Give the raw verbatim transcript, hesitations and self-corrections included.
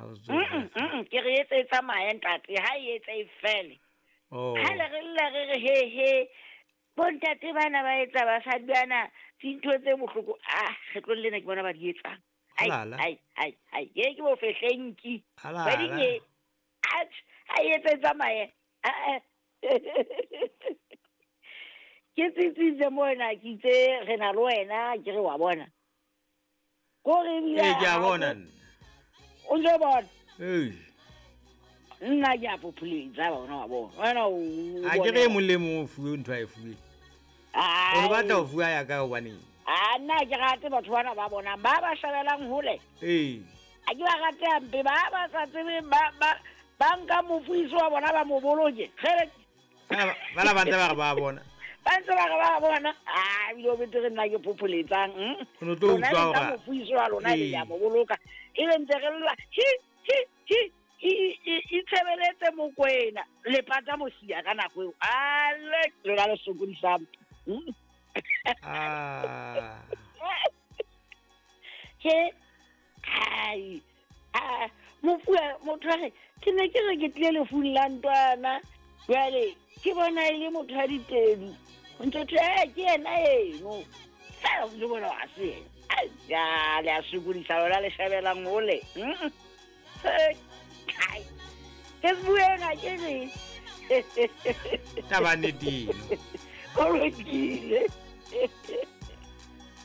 Ha o tswe Mm, mm, ke re etse e tsamaye ntate ha e etse e fele. Oh. Ha le re lla re re he he bontate bana ba etsa basadi bana dintho tse bohloko ah kgetlong lena ke bona ba di etsang. Ai Halala. ai ai ai ye ke bofehlenki. Halala. Kgweding e atjhe ha e etse e tsamaye. Ah, ah. Ke tsitsitse mona ke itse re na le wena ke re wa bona. Ko re ebile Ee, ke a ha o- bona nna. O ntso bona. Ee. Nna ke a phopholetsa bona wa bona. Wena o A ke re e mong le mong o fuwe ntho a e fuweng. O re batla ho fuwa ya ka hobaneng? A nna ke rate batho bana ba bonang ba ba shabelang hole. Ee. A ke ba rate hampe ba ba sa tsebeng ba ba ba nka mofuisi wa bona ba mo boloke. Kgele Bana bana ba ntse ba re ba bona. ba ntse ba re ba bona. Ah ebile o betere nna ke phopholetsang. mm. O no tlo Lona utlwa le nka hore- mofuisi wa lona le Ee. ya mo boloka. Ebe ntse re lla hi hi hi i- i- itshebeletse Mokwena le pata mosia ka nako eo. Ale lona le sokodisang. Mm. Ah. Ke ai a mofu a- motho a re ke ne ke re ke tlile lefung la ntwana jwale ke bona e le motho a ditedu ntho thwe "Eh, ke yena eno fela o ntso bona ha se yena Ai, ya le a sokodisa lona le shabelang hole Mm. Eh, ai, ke se bueng ha ke re Taba nnete eno. Ho lokile.